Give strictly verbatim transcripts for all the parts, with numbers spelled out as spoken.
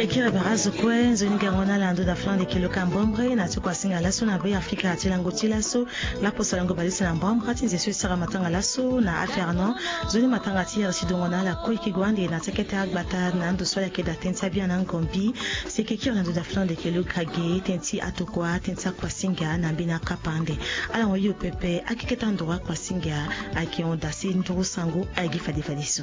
Kiri bara zo kue nzoni gango na ala ndo da flan de kilo ka mbombre na ti kuasinga laso na be afrika ti lango ti laso. Lapo salango balise na mbombre ti nze so e sara matanga laso na afernon. Nzoni matanga ti here ti dongo na ala kue ki gwande na ti akete agbata na ndo so ala yeke da tënë ti abia na ngombi. Si e ke kiri na ndo da flan de kilo ka ge tënë ti atokua tënë ti akuasinga na mbeni akapa ande. Ala hon hio pepe akeketa nduru akuasinga. Ayeke hon da si nduru sango ayeke gi fade fade so.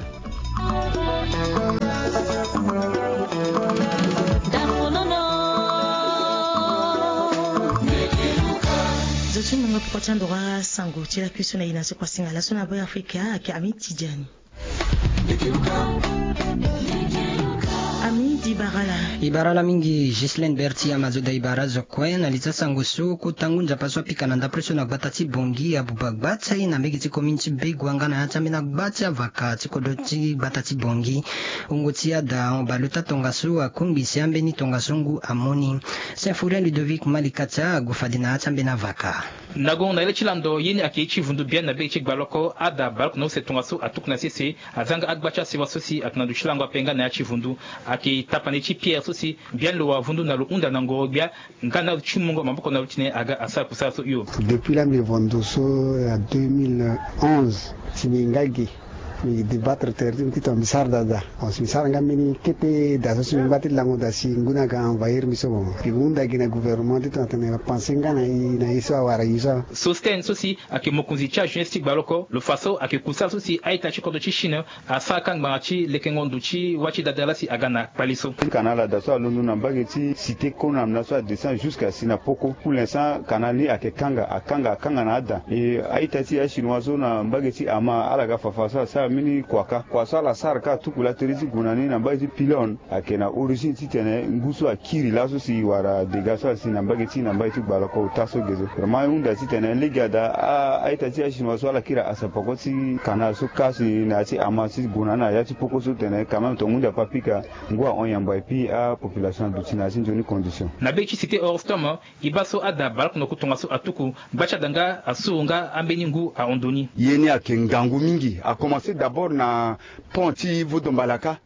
Zo ti mungo poko ti andoro asango ti lakui so na e na so kuasinga laso na be afrika ayeke ami ti diani. Ami di bara ala. E bara ala mingi Ghislaine Berti ama zo da e bara azo kue na li ti asango so kota ngu nzapa so apika na ndapre so na gbata ti bongi abuba gba ti aye na mbege ti komine ti begua nga na ya ti ambeni agba ti avaka ti kodro ti gbata ti bongi. Wungo ti ada hon baleota tongaso akungbi si ambeni tongaso ngu amu ni. Saint fourien ludovic malikatia agu fade na ya ti ambeni avaka. Na gongo na ye le ti lando ye ni ayeke ye ti vundu biani na be ti gbaloko ada baloko na use tongaso atuku na sese. Aza nga agba ti asiwa so si ayeke na ndo ti lango ape nga na ya ti vundu. Ayeke tapande ti pierre so si biani lo wara vundu na lo hunda na ngoro gbia nga na lo ti mungo maboko na lo titene aga asara kusala so hio. Depuis la mbi vundu so ya deux mille onze si mbi nga ge. Mbi débattre terre ti mbi titene mbi sara daa daa. Si mbi sara nga mbeni kete daa so si mbi ngba ti lango daa si ngu ni aga envahir mbi so bon. Mbi hunda gi na gouvernement titene atene apense nga na e na e so awara e so. Sosten so si ayeke mokonzi ti ajeunesse ti gbaloko lo fa so ayeke kusala so si a-ita ti kodro ti chine asara ka ngbanga ti lekengo ndo ti wâ ti dadala si aga na kpali so. Ti kanal ada so alondo na mbage ti cité konam na so adescend jusqu'à si na poko pour l'instant kanal ni ayeke kanga akanga akanga na ada. E a-ita ti achinois so na mbage ti ama ala ga fafa so asara mbeni kua ka kua so ala sara ka atuku la tere ti gue na ni na mbage ti pilone. Ayeke na origine titene ngu so akiri laso si wara dega so asi na mbage ti na mbage ti gbaloko ota so ge so vraiment e hunda titene lege ada a-ita ti achinois so ala kiri asapako ti kanal so ka si na ya ti ama ti gue na ni na ya ti poko so tene quand même tonga hunzi ape apika. Ngu ahon yamba epui apopulation aduti na ya ti nzoni condition. Na be ti cité horstom e baa so ada baleoko na oku tongaso atuku gba ti ada nga asuru nga ambeni ngu ahon ndo ni. Ye ni ayeke ngangu mingi akomanse d'abord na pont ti vodombalaka.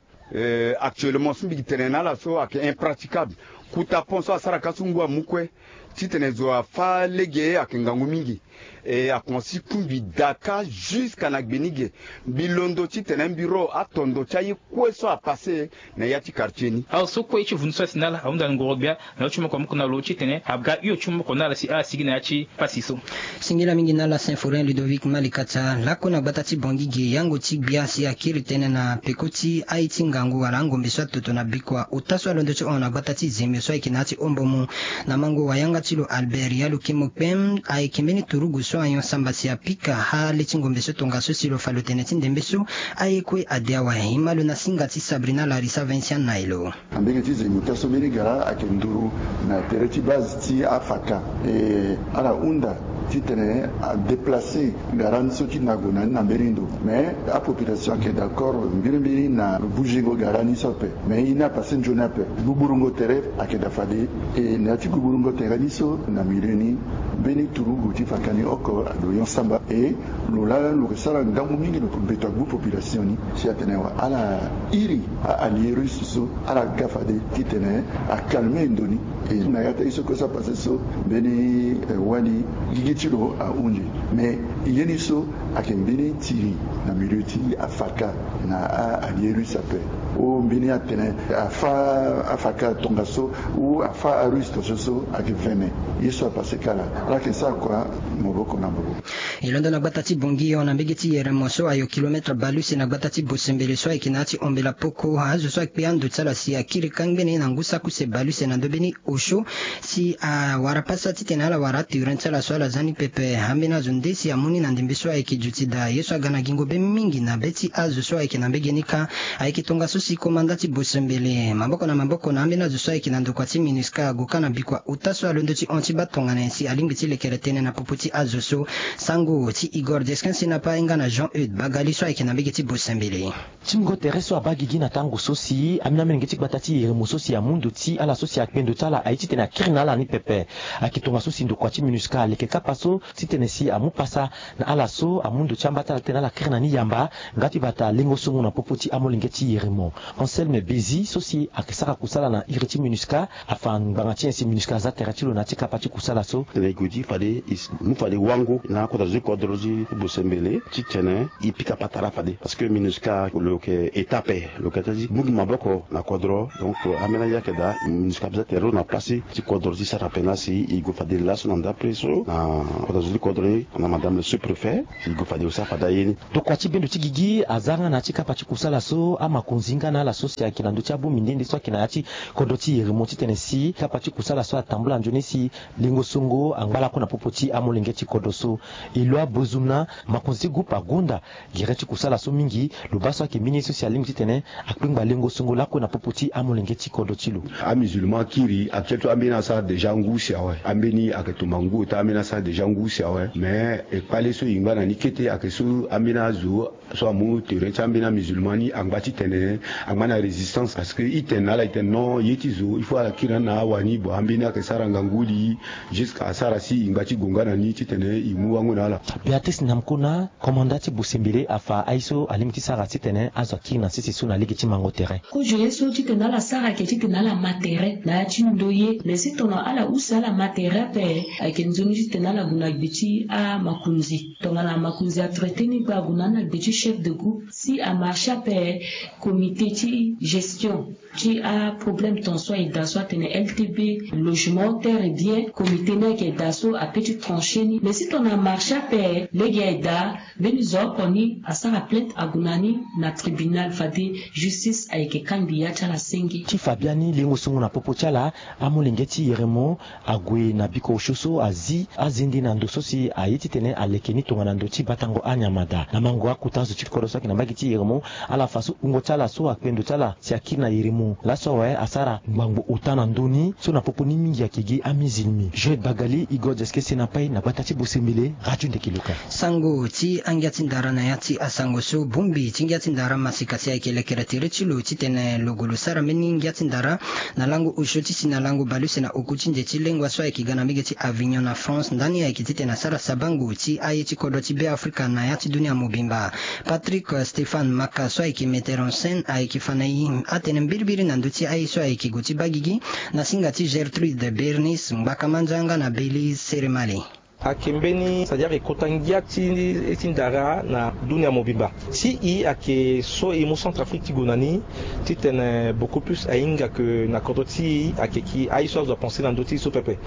Actuellement so mbi gi tene na ala so ayeke impraticable. Kuta pont so asara ka so ngu amu kue titene zo afâ lege ayeke ngangu mingi. E akomanse kungbi daa ka jusqu'à na gbe ni ge. Mbi londo titene mbi ro atondo ti aye kue so apasse na ya ti quartier ni. Azo so kue ye ti vundu so asi na ala ahunda na ngoro gbia na lo ti moko moko na lo titene aga hio ti moko na ala si ala sigi na ya ti pasi so. Singila mingi na ala saint fourien ludovic malikatia lako na gbata ti bongi ge yango ti gbia si akiri tënë na peko ti aye ti ngangu wala angombe so atoto na bikua ota so alondo ti hon na gbata ti zemio so ayeke na ya ti hombo mu. Na mango wayanga ti lo albert ya lo kemo kpem ayeke mbeni turugu so ayon samba si apika ale ti ngombe so tongaso si lo fa lo tene ti ndembe so. Aye kue ade awe e ma lo na singa ti sabrina larisa vincent nailo. Na mbege ti zemio ota so mbeni gara ayeke nduru na tere ti base ti afaka. E ala hunda titene adeplace gara ni so ti na gue na ni na mbeni ndo. Mais apopulation ayeke d'accord mbirimbiri na buzingo gara ni so ape. Mais ye ni apasse nzoni ape. Gbuburungo tere ayeke daa fade. E na ya ti gbuburungo tere ni so na milieu ni mbeni turugu ti faka ni oko ado yon samba e lo laa lo yeke sara ngangu mingi lo yeke beto agbu population ni. Si atene wa ala iri a-allier russe so ala ga fade titene acalme ndo ni. E na ya ti aye so kue so apasse so mbeni wani gigi ti lo ahunzi. Mais ye ni so ayeke mbeni tiri na milieu ti afaka na a-allier russe ape. O mbeni atene afâ afaka tongaso ou afâ arusse tongaso so ayeke vene. Ye so apasse kala ala yeke sara kua maboko na maboko. E londo na gbata ti bongi hon na mbege ti yeremo so ayo kilometre baleuse na gbata ti bosembele so ayeke na ya ti hombela poko azo so akpe ando ti ala si akiri ka ngbene na ngu saki use baleuse na ndö mbeni osio. Si awara pasa titene ala wara aturen ti ala so ala za ni pepe ambeni azo nde si amu ni na ndembe so ayeke duti daa ye so aga na gingo be mingi na be ti azo so ayeke na mbege ni ka. Ayeke tongaso si komanda ti bosembele maboko na maboko na ambeni azo so ayeke na ndokua ti minusca ago ka na bikua ota so alondo ti hon ti baa tongana nyen si alingbi ti lekere tënë na popo ti azo so. Sango ti igor deskin si na pa ahinga na jean eude bagali so ayeke na mbege ti bosembele. Ti mungo tere so abaa gigi na tango so si ambeni amolenge ti gbata ti yeremo so si amu ndo ti ala so si akpe ndo ti ala aye titene akiri na ala ni pepe. Ayeke tongaso si ndokua ti minusca aleke kapa so titene si amu pasa na ala so amu Mu ndo ti amba ti ala titene ala kiri na ni yamba nga ti bata lengo songo na popo ti amolenge ti yeremo. Anselme Bezi so si ayeke sara kusala na iri ti MINUSCA afa ngbanga ti nyen si MINUSCA aza tere ti lo na ya ti kapa ti kusala so. Tene e gue ti fade e s- mu fade wango na akota zo ti kodro ti Bosembele titene e pika patara fade. Parce que MINUSCA lo yeke état ape, lo yeke ti mu gi maboko na kodro. Donc, euh, ambeni aye ayeke daa, MINUSCA aza tere lo na place ti kodro ti sara ape nga si e gue fade laso na ndapre so na kodro ti kodro ni na madame le sous-préfet. E gue fade lo sara fade aye ni. Tokua ti bendo ti gigi aza nga na ya ti kapa ti kusala so, amakonzi nga na ala so si ayeke na ndö ti abongbi nde nde so ayeke na ya ti kodro ti yeremo titene si kapa ti kusala so atambula nzoni si lengo songo angba lakue na popo ti amolenge ti kodro so. Eloi Bozumna, makonzi ti groupe agonda gere ti kusala so mingi, lo baa so ayeke mbeni ye so si alingbi titene akpengba lengo songo lakue na popo ti amolenge ti kodro ti lo. Amusulman akiri actuel so ambeni asara déjà ngu si awe. Ambeni ayeke tumba ngu ota, ambeni asara déjà ngu si awe. Mais e kpale so e ngba na ni kete ayeke so ambeni azo so amu tere ti ambeni amusulman ni angba titene angba na résistance. Parce que e tene na ala e tene non, ye ti zo il faut ala kiri na ala wani. Bon, ambeni ayeke sara ngangu li jusqu'à asara si e ngba ti gue nga na ni titene e mu wango na ala. Béatrice Namkona, komanda ti Bosembele, afa aye so alingbi ti sara titene azo akiri na sese so na lege ti mango tere. Kozo ye so titene ala sara ayeke titene ala ma tere na ya ti ndoye. Mais si tongana ala use ala ma tere ape, ayeke nzoni titene ala gue na gbe ti amakonzi. Tongana makonzi atraité ni kue ague na ni na gbe ti chef de groupe si amarché ape, comité ti gestion ti aproblème ton so aye daa so atene L T B, logement, terre et bien, comité ni ayeke daa so ape ti tranché ni. Mais si tongana amarché ape, lege aye daa, mbeni zo oko ni asara plainte ague na ni na tribunal fade justice ayeke kangbi ya ti ala senge. Ti fa biani lengo songo na popo ti ala, amolenge ti yeremo ague na biko osio so azi azende na ndo so si aye titene aleke ni tongana ndo ti batango anyama daa. Na mango akota azo ti kodro so ayeke na mbage ti yeremo, ala fa so wungo ti ala so akpe ndo ti ala si akiri na yeremo laso awe asara ngbangbo ota na ndö ni so na popo ni mingi ayeke gi amizilmi. Joël Bagali, Igor Diaskese na Pai na gbata ti Bosembele, Radio Ndeke Loka. Sango ti angia ti ndara na ya ti asango so bongbi ti ngia ti ndara masika si ayeke lekere tere ti lo titene lo gue lo sara mbeni ngia ti ndara na lango osio ti si na lango baleuse na oku ti nze ti lengua so ayeke ga na mbage ti Avignon na France. Ndani ayeke titene asara sabango ti aye ti kodro ti Beafrika na ya ti dunia mobimba. Patrick Stéphane Maka so ayeke metteur en scène ayeke fa na e atene mbirimbiri na ndö ti aye so ayeke gue ti baa gigi na singa ti Gertrude Bernice, ngbaka manza nga na Belize Seremale. Ayeke mbeni, c'est-à-dire e kota ngia ti, ti ndara na dunia mobimba. Si e ayeke so e mu Centrafrique ti gue na ni titene beaucoup plus ahinga ke na kodro ti e ayeke ki aye so azo apense na ndö ti e so pepe.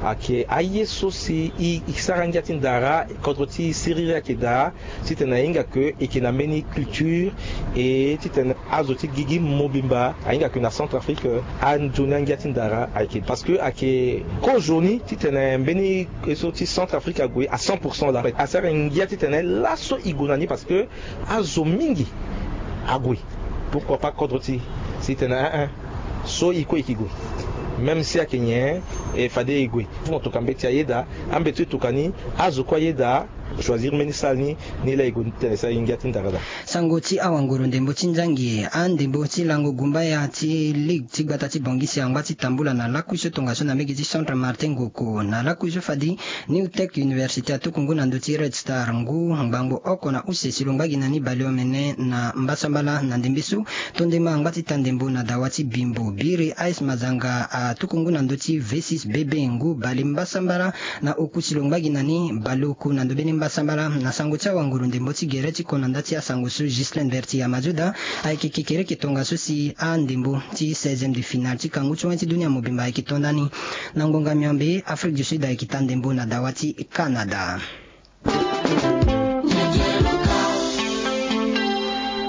Ayeke aye so si e, e sara ngia ti ndara, kodro ti e siriri ayeke daa, titene ahinga ke e yeke na mbeni culture, e titene azo ti gigi mobimba ahinga ke na Centrafrique, anzoni angia ti ndara ayeke. Parce que ayeke kozoni titene mbeni ye so ti Centrafrique ague à cent pour cent laa. Asara ngia titene laso e gue na ni parce que azo mingi ague. Pourquoi pas kodro ti e? Si e tene, eh, eh, so e kue e yeke gue. Même si ayeke nyen, e fade e gue. Fo mo toka mbeti ayeda, ambeti so e toka ni, azo kue ayeda choisir mbeni salle ni, ni laa e gue titene e sara e ngia ti ndara daa. Sango ti awanguru ndembo ti nzangi, andembo ti lango gumbaya ti ligue ti gbata ti Bangui si angba ti tambula na lakui so tongaso na mbage ti Centre Martin Ngoko. Na lakui so fade New Tech Université atuku ngu na ndö ti Red Star ngu ngbangbo oko na use si lo ngba gi na ni baleomene na mbasambala. Na ndembe so, Tondema angba ti ta ndembo na dawa ti Bimbo. Biri Ice Mazanga atuku ngu na ndö ti V six B B ngu bale mbasambala na oku si lo ngba gi na ni baleoku na ndö mbeni mbasambala. Na sango ti awanguru ndembo ti gere ti konanda ti asango so, Ghislain Berti Amazoda, ayeke kekereke tongaso si andembo ti seizième de finale ti kangu ti wen ti dunia mobimba ayeke to ndani. Na ngonga miombe, Afrique du Sud ayeke ta ndembo na dawa ti Canada.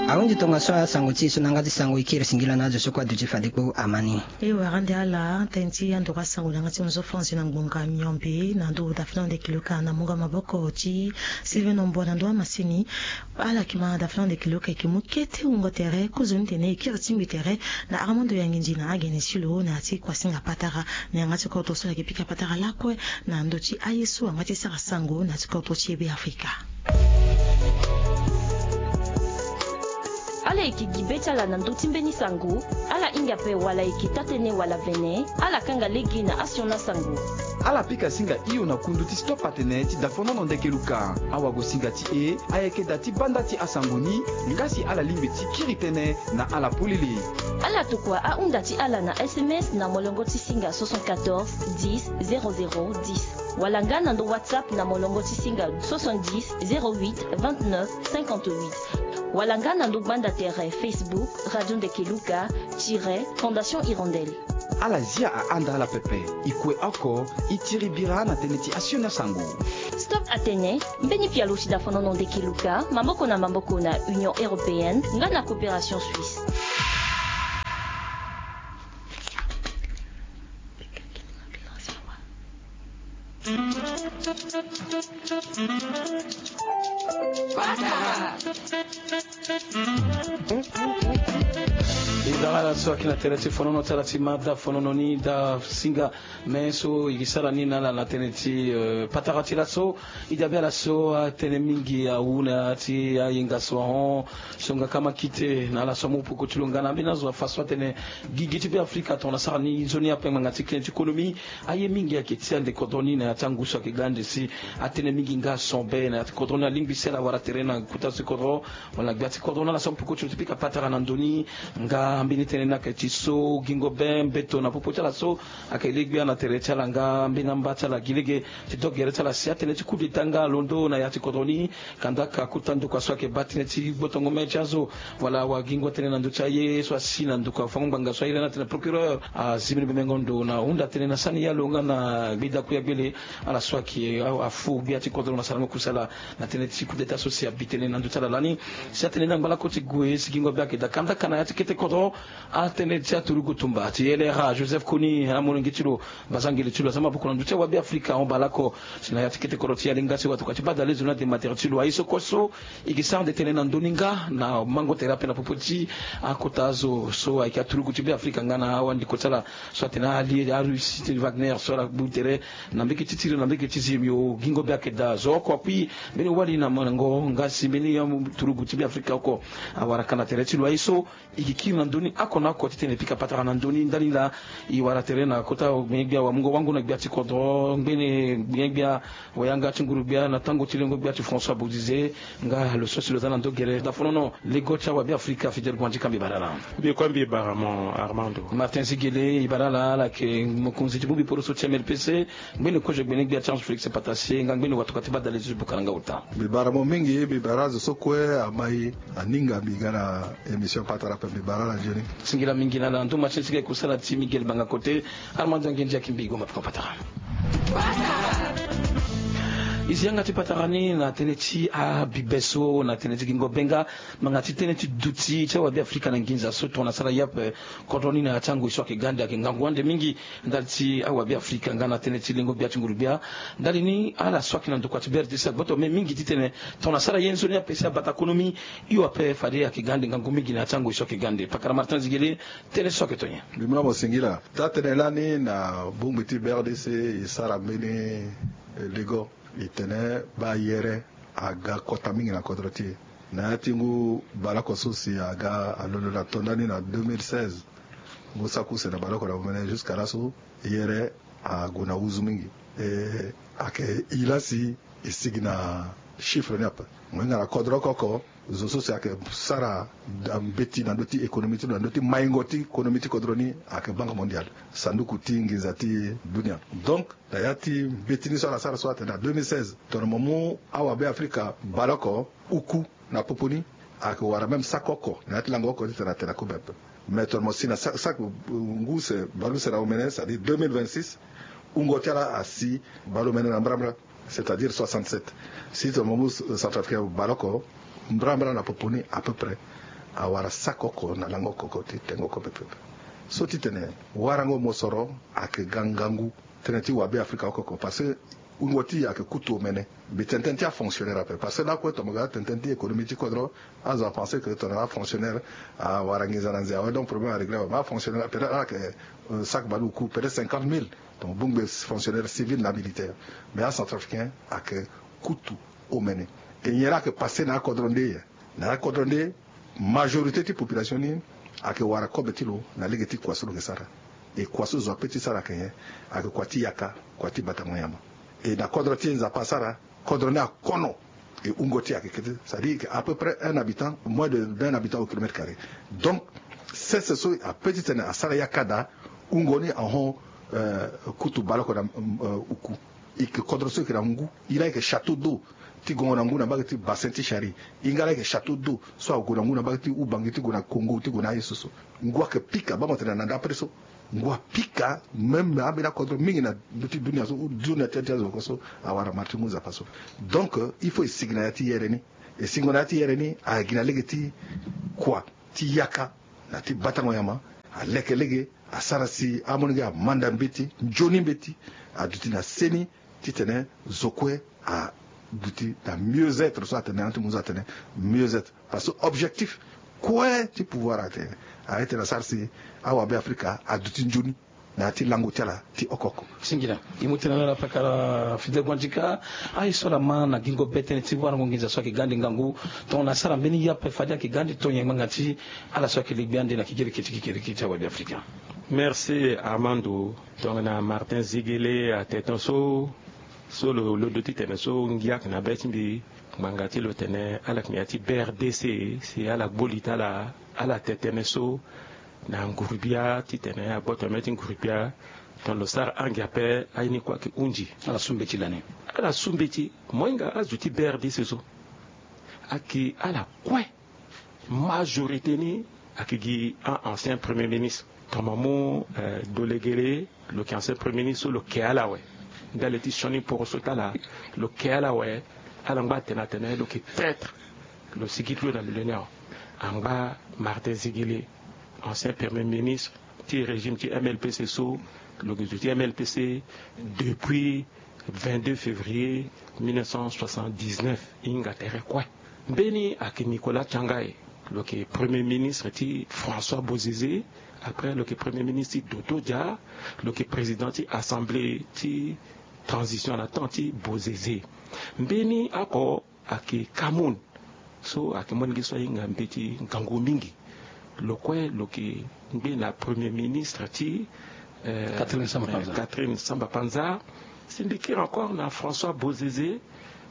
Ahunzi tongaso asango ti e so na yanga ti sango, e kiri singila na azo so kue aduti fade kpo amani. E wara nde ala tënë ti andoro asango na yanga ti nzo Franzi na ngbonga miombe na ndö dafa na ndeke loka na mungo maboko ti Sylvain Nombo na ndo amasini. Ala yeke ma dafa na ndeke loka, e yeke mu kete wungo tere, kozoni tene e kiri tingbi tere na Armando Yangindi na agene ti lo na ya ti kuasinga patara na yanga ti kodro so ala yeke pika patara lakue na ndö ti aye so angba ti sara sango na ya ti kodro ti e Beafrika. Ala yeke gi be ti ala na ndö ti mbeni sango. Ala hinga ape wala e yeke taa-tënë wala vene, ala kanga lege na asioni asango. Ala pika singa hio na kundu ti Stop Atene ti dafonono ndeke luka. Awagosinga ti e ayeke da ti banda ti asango ni, nga si ala lingbi ti kiri tënë na ala polele. Ala tokua ahunda ti ala na S M S na molongo ti singa soixante-quatorze dix zéro zéro dix, wala nga na ndo WhatsApp na molongo ti singa soixante-dix zéro huit vingt-neuf cinquante-huit, wala nga na ndo gbanda tere Facebook Radio Ndeke Luka tiret Fondation Hirondelle. Ala zia ahanda ala pepe. E kue oko, e tiri bira na tënë ti asioni asango. Stop Atene, mbeni pialo ti dafonono ndeke luka, maboko na maboko na Union Européenne nga na Coopération Suisse. E dara ala so ayeke na tere ti fonono ti ala ti ma dafonono ni, dasinga me so e ke sara ni na ala na tënë ti, eh, patara ti laso. E dabe ala so atënë mingi awu na ya ti ayenga so ahon. So nga kama kite na ala so amu poko ti lo nga na ambeni azo afa so atene gigi ti Beafrika tongana asara ni nzoni ape ngbanga ti kene ti konomi. Aye mingi ayeke ti ande kodro ni na ya ti angu so ayeke ga ande si atënë mingi nga ason be na ya ti kodro ni alingbi si ala wara tere na kota so ti kodro wala na gbia ti kodro na ala so amu poko ti lo ti pika patara na ndo ni. Nga ambeni tënë ni ayeke ti so gingo be mbeto na popo ti ala so ayeke le gbia na tere ti ala nga ambeni amba ti ala gi lege ti do gere ti ala si atënë ti coup d'état nga alondo na ya ti kodro ni. Kandaka kota ndokua so ayeke baa tënë ti gbotongo me ti azo wala awagingo atene na ndö ti aye so asi na ndokua fango ngbanga so aye lani atene procureur azi mbeni bemengo ndo na hunda tënë na sani ya lo nga na gbida kuya gbele. Ala so ayeke afu gbia ti kodro na sarango kusala na tënë ti coup d'état so si abi tënë na ndö ti ala lani. Si atënë ni angba lako ti gue si gingo be ayeke daa kandaka na ya ti kete kodro. Atënë ti aturugu tumba ti L R A Joseph Kony amolenge ti lo, bazangele ti lo aza maboko na ndö ti awabe afrika ahon baa lako. Si na ya ti kete kodro ti Yalinga si watokua ti badale zo ni ade matere ti lo aye so kue so e ke sara nde tënë na ndö ni nga na mango tere ape na popo ti akota azo so ayeke aturugu ti Beafrika nga na awandiko ti ala so atene ali Arussie ti Wagner so ala gbu tere na mbeke ti tiri na mbeke ti zemi o gingo be ayeke daa zo oko akui mbeni wali na mango nga si mbeni aturugu ti Beafrika oko awara ka na tere ti lo aye so. E ke kiri na ndö ni oko na oko titene e pika patara na ndö ni ndali laa. E wara tere na kota gbene gbia wamungo wango na gbia ti kodro ngbene gbene gbia wayanga ti nguru gbia na tango ti lengo gbia ti François Boudize. Nga lo so si lo za na ndö gere dafonono lego ti awabe afrika Fidèle Guandji ka mbi bara laa. Mbi kue mbi bara mo Armando. Martin Zigele e bara laa ala yeke mokonzi ti bongbi poroso ti M L P C. Ngbene kozo gbene gbia ti ange Félix Patasse nga ngbene watokua ti badale ti buka na nga ota. Mbi bara mo mingi mbi bara azo so kue amai aninga mbi ga na émission patara ape mbi bara ala nzoni. Singila mingi na ala na nduma ti sika e kusala ti Miguel Banga Kote. Armando Angendia ki mbi goma peko patara. E zi yanga ti patara ni na tënë ti abibe so na tënë ti gingo be nga ngbanga ti tënë ti duti ti awabe afrika na nginza so tongana asara ye ape. Kodro ni na ya ti angoi so ayeke ga ande ayeke ngangu ande mingi. Ndali ti awabe afrika nga na tënë ti lengo gbia ti nguru gbia. Ndali ni ala so ayeke na ndokua ti B R D C agboto me mingi titene tongana asara ye nzoni ape si abata konomi. Hio ape fade ayeke ga ande ngangu mingi na ya ti angoi so ayeke ga ande pakara Martin Zigele. Tënë so ayeke to nyen? Mbi mu na mo singila taa tënë lani na bongbi ti B R D C e sara mbeni lego. E tene baa yere aga kota mingi na kodro ti e. Na ya ti ngu baleoko so si aga alondo na tonda ni na deux mille seize. Ngu saki use na baleoko na omene jusqu'à laso yere ague na uzu mingi. E ayeke e laa si e sigi na chiffre ni ape. Mo hinga na kodro oko oko zo so si ayeke sara mbeti na ndö ti économie ti lo na ndö ti maingo ti konomi ti kodro ni ayeke Banque Mondiale, sanduku ti nginza ti dunia. Donc na ya ti mbeti ni so ala sara so atene na deux mille seize tongana mo mu awabe afrika baleoko uku na popo ni ayeke wara même saki oko na ya ti lango oko titene atene akobe ape. Mais tongana mo si na saki ngu use baleuse na omene c'est-à-dire deux mille vingt-six, wungo ti ala asi baleomene na mbrambra, c'est-à-dire soixante-sept. Si tongana mo mu centrafricain baleoko mbrambra na popo ni à peu près awara saki oko na lango oko ti tengo oko pepepe. So titene warango mosoro ayeke ga ngangu. Tënë ti wabe afrika oko oko parce que wungo ti e ayeke kutu omene. Mbi tene tënë ti afonctionnaire ape parce que lakue tongana mo ga tene tënë ti économie ti kodro azo apense que tongana afonctionnaire awara nginza na nze awe donc problème aréglé awe mais afonctionnaire peut-être ala yeke saki baleoku peut-être cinquante mille. Donc bongbi fonctionnaire civil na militaire. Mais acentrafricain ayeke kutu omene. E nyen la ayeke passe na akodro nde ye? Na akodro nde majorité ti population ni ayeke wara kobe ti lo na lege ti kua so lo yeke sara. E kua so zo ape ti sara ayeke nyen? Ayeke kua ti yaka, kua ti batango nyama. E na kodro ti e Nzapa asara, kodro ni akono. E wungo ti e ayeke kete, c'est-à-dire que à peu près un habitant, moins de d'un habitant au kilomètre carré. Donc sese so ape titene asara yaka daa, wungo ni ahon, euh, kutu baleoko na, euh, uku. E yeke kodro so e yeke na ngu. E laa e yeke château d'eau ti gongo na ngu na mbage ti bassin ti Chari. E nga laa e yeke château d'eau so ague na ngu na mbage ti Ubangi ti gue na Congo ti gue na aye so so. Ngu ayeke pika, baa mo tene na ndapre so. Ngu apika même na ambeni akodro mingi na ndö ti dunia so, dunia ti, ti azo oko so awara mara ti ngu Nzapa so. Donc, euh, il faut e sigi na ya ti yere ni. E singo na ya ti yere ni, ayeke gi na lege ti kua ti yaka na ti batango nyama. Aleke lege, asara si amolenge amanda mbeti, nzoni mbeti, aduti na seni, titene zo kue aduti na mieux-être so atene, na ti munzu atene mieux-être. Parce que objectif kue ti pouvoir atene, a-ete na sara si awabe Afrika aduti nzoni na ya ti lango ti ala ti oko oko. Singila. E mu tene na ala pakara Fidel Guandika. Aye so ala ma na gingo be tënë ti warango nginza so ayeke ga ande ngangu, tongana asara mbeni ye ape fade ayeke ga ande to nyen ngbanga ti ala so ayeke legbi ande na kekereke ti kekereke ti awabe Afrika? Merci Armando. Tongana Martin Ziguélé atene so, so lo, lo do ti tene so ngia ayeke na be ti mbi, ngbanga ti lo tene ala yeke na ya ti B R D C, si ala gbo li ti ala, ala tene tënë so na nguru-bia titene agboto na mê ti nguru-bia. Tongana lo sara ange ape, aye ni kue ayeke hunzi. Ala su mbeti lani. Ala su mbeti. Mo hinga azo ti B R D C so ayeke ala kue. Majorité ni ayeke gi a-ancien premier ministre. Tongana mo mu, euh, Dolegele, lo yeke ancien premier ministre so lo ke ala awe. Ndali ti sioni poroso ti ala, lo ke ala awe. Ala ngba atene atene lo yeke traître. Lo sigi ti lo na milieu ni awe. Angba Martin Ziguélé, ancien premier ministre ti régime ti M L P C so, lo yeke zo ti M L P C depuis vingt-deux février mille neuf cent soixante-dix-neuf, e hinga tere kue. Mbeni ayeke Nicolas Thiangaye, lo yeke premier ministre ti François Bozizé. Après lo yeke premier ministre ti Dodo Dia. Lo yeke président ti assemblée ti transition na temps ti Bozizé. Mbeni oko ayeke Kamoun, so ayeke molenge so ahinga mbeti ngangu mingi. Lo kue lo yeke ngbene premier ministre ti, euh, Catherine Samba Panza. Catherine Samba Panza. Si mbi kiri encore na François Bozizé,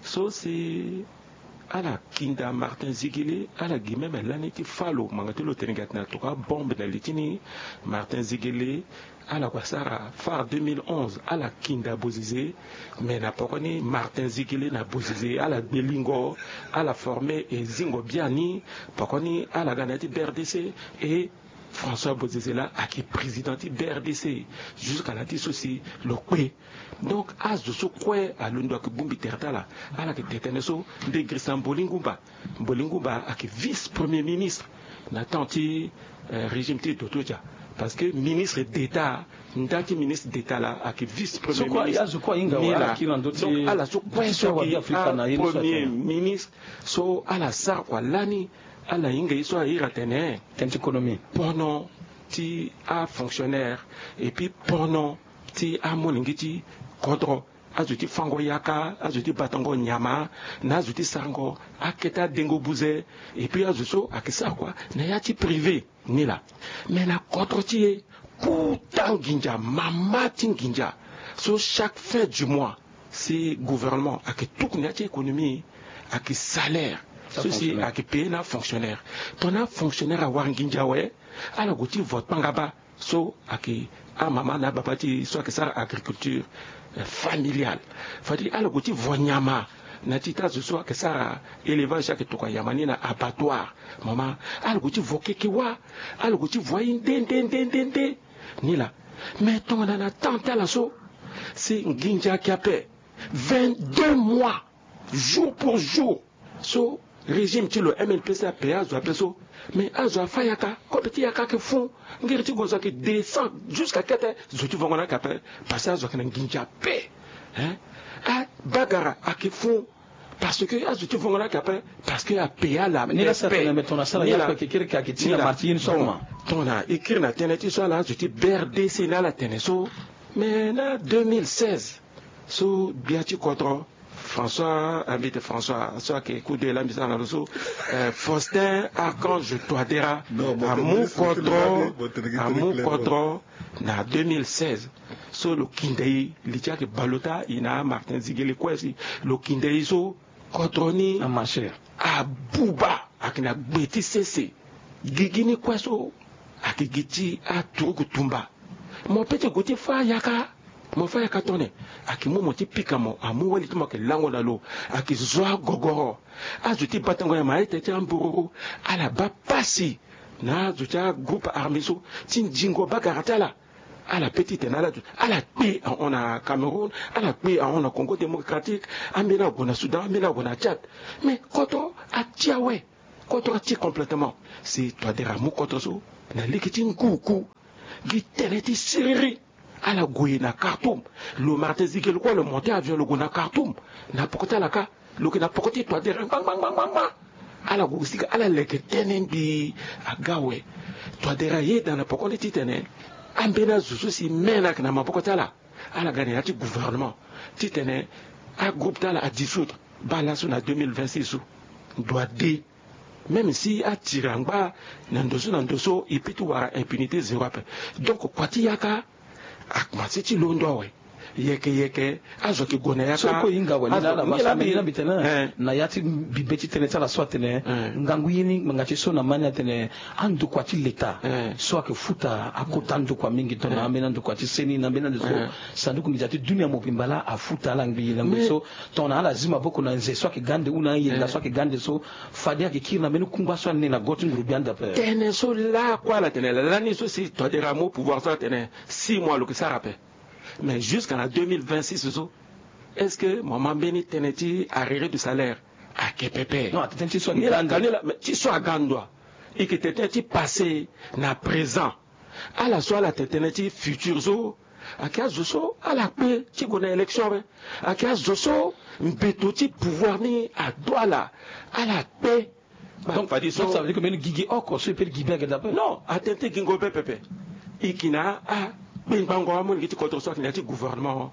so si ala kinda Martin Ziguélé, ala gi même lani ti fâ lo, ngbanga ti lo tene gi atene atokua bombe na li ti ni. Martin Ziguélé, ala gue asara phare deux mille onze, ala kinda Bozizé. Mais na poko ni Martin Ziguélé na Bozizé ala gbe lingo, ala forme e zingo biani. Poko ni ala ga na ya ti B R D C. Et François Bozizé laa ayeke président ti B R D C jusqu'à na ya ti so si lo kpe. Donc azo so kue alondo ayeke bongbi tere ti ala. Ala yeke tene tënë so. Nde girisa Mbolingumba. Mbolingumba ayeke vice premier ministre na temps ti, euh, régime ti Dodo Dia. Parce que ministre d'État, nda ti ministre d'État laa ayeke vice premier ministre. So kue azo kue ahinga awe, ala kiri na ndö ti. Donc ala so kue so ayeke premier ministre, so ala sara kua lani, ala hinga ye so a iri atene tënë ti konomi, pono ti afonctionnaire, et puis pono ti amolenge ti kodro. Azo ti fango yaka, azo ti batango nyama, na azo ti sarango akete adengo buze. Et puis azo so ayeke sara kua na ya ti privé ni laa. Mais na kodro ti e, kota nginza, mama ti nginza. So chaque fin du mois, si gouvernement ayeke tuku na ya ti économie, ayeke salaire so si ayeke paye na afonctionnaire. Tongana afonctionnaire awara nginza awe, ala gue ti vo kpangaba. So ayeke amama na ababa ti e so ayeke sara agriculture, euh, familiale. Fade ala gue ti vo nyama na ti ta zo so ayeke sara élevage, ayeke tokua nyama ni na abattoir. Mama, ala gue ti vo keke wâ. Ala gue ti vo aye nde nde nde nde nde ni laa. Mais tongana na temps ti ala so, si nginza ayeke ape vingt-deux mois, jour pour jour. So régime ti lo M L P C ape azo ape so. Mais azo afâ yaka, kobe ti yaka ayeke fû. Ngiri ti gonzo ayeke descend jusqu'à kete. Zo ti vongo na ayeke ape, parce que azo ayeke na nginza ape. Hein? Abagara ayeke fû. Parce que azo ti vongo na ayeke ape, parce que ape ala. Ni la sa tene me tongana sara yaka kekereke ayeke ti na marti ye ni so. Bon, tongana e kiri na tënë ti so ala azo ti B R D C ni ala tene so. Mais na deux mille seize, so gbia ti kodro François, ambite François so ayeke kude la mbi sara na lo so, eh, Faustin Archange Touadéra amu kodro, amu kodro na deux mille seize. So lo kinde e li ti ayeke bale ota e na Martin Ziguele kue si lo kinde e so kodro ni abuba ayeke na gbe ti sese. Gigi ni kue so ayeke gi ti aturuku tumba. Mo pe ti gue ti fâ yaka. Mo fâ yaka tongana ayeke mu mo ti pika mo amu wali ti mo ayeke lango na lo. Ayeke zo agogoro. Azo ti batango nyama aye tene ti ambururu ala baa pasi na azo ti agroupe armé so ti nzingo bagara ti ala. Ala pe titene ala ala kpe ahon na Cameroun, ala kpe ahon na Congo démocratique, ambeni ague na Soudan, ambeni ague na Tchad. Mais kodro ati awe. Kodro ati complètement. Si Touadéra amu kodro so na lege ti nguku. Gi tënë ti siriri. Ala gue na Khartoum. Lo Martin Ziguele kue lo monte avion lo gue na Khartoum. Na poko ti ala ka. Lo yeke na poko ti Touadéra ngbangbangbangba. Ala gue sika ala leke tënë mbi aga awe. Touadéra ayeda na poko ni titene ambeni azo so si me na ayeke na maboko ti ala. Ala ga na ya ti gouvernement titene agroupe ti ala adissoudre. Baa laso na deux mille vingt-six so ndo ade. Même si atiri angba na ndo so na ndo so e peut ti wara impunité zéro ape. Donc kua ti yaka akomanse ti londo awe. Yeke yeke azo yeke gue na yaka. So e kue e hinga awe ni na ala ma so ambeni na mbi tene na ya ti bibe ti tënë ti ala so atene ngangu ye ni ngbanga ti so na ma ni atene andokua ti leta so ayeke futa akota ndokua mingi tongana ambeni andokua ti seni na ambeni ande so. Sanduku nginza ti dunia mobimba laa afuta ala ngbii na ngbii so tongana ala zi maboko na nze so ayeke ga ande ou na ayenga so ayeke ga ande so. Fade ayeke kiri na mbeni kungba so ane na go ti ngurugbia ande ape. Tënë so lakue ala tene lani so si Touadéra amu pouvoir so atene six mois lo yeke sara ape. Mais jusqu'à na deux mille vingt-six so est-ce que mo ma mbeni tënë ti arriéré du salaire? Ayeke pepe. Non, atene ti so ni la kani la mais ti so aga ndo. E yeke tene tënë ti passé na présent. Ala so ala tene tënë ti futur so ayeke azo so ala kpe ti gue na élection awe. Ayeke azo so mbeto ti pouvoir ni ado ala. Ala kpe. Donc fadi so ça veut dire que mbeni gigi oko so e peut ti gi be ayeke daa ape. Non, atene ti gingo be pepe. E yeke na akpengbango amolenge ti kodro so ayeke na ya ti gouvernement.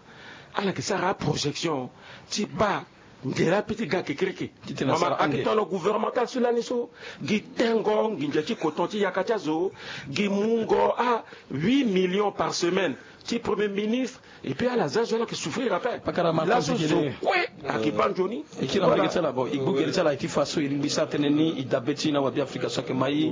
Ala yeke sara aprojection ti baa nzela ape ti ga kekereke. Mama ayeke tongana gouvernemental so lani so gi tengo nginza ti koton ti yaka ti azo. Gi mungo a huit millions par semaine ti premier ministre. Et puis ala za zo ala yeke souffrir ape. Laso zo kue ayeke baa nzoni. E kiri na mbage ti ala bon e gbu gere ti ala e ti fa so e lingbi sara tënë ni e dabe ti na wabiafrika so ayeke ma e.